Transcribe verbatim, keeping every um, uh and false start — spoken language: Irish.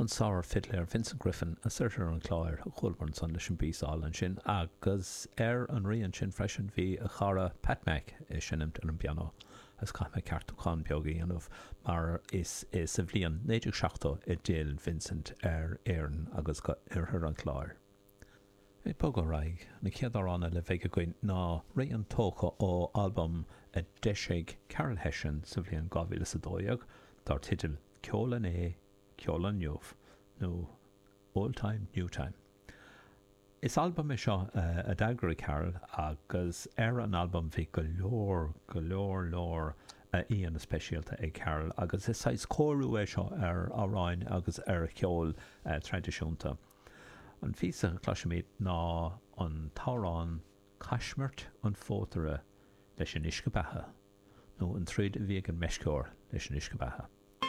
An sár-fhidléir Vincent Griffin as Oirthear an Chláir a chualamar ansan leis an bpíosa álainn sin agus ar an rian sin freisin bhí a chara Pat Mack ag seinmt ar an bpianó agus caithfidh mé ceartúchán beag a dhéanamh mar is sa bhliain naoi déag seachtó a d'fhill Vincent ar Éirinn agus go Oirthear an Chláir. Ag bogadh ar aghaidh, an chéad amhrán eile a bheidh againn ná rian tógtha ó albam a d'eisigh Carol Hession sa bhliain dhá mhíle is a dó dhéag dar teideal Ceol Inné, Ceol Inniu nó Old Time, New Time. Is albam é seo a d'eagraigh Carol agus ar an albam bhí go leor, go leor leor aíonna speisialta ag Carol agus is saghas cóiriú é seo ar amhráin agus ar cheol traidisiúnta. An phíosa a chloisfimid ná an t-amhrán Caismirt an Phótaire leis an Uisce Beatha nó an troid a bhí ag an meisceoir leis an uisce beatha.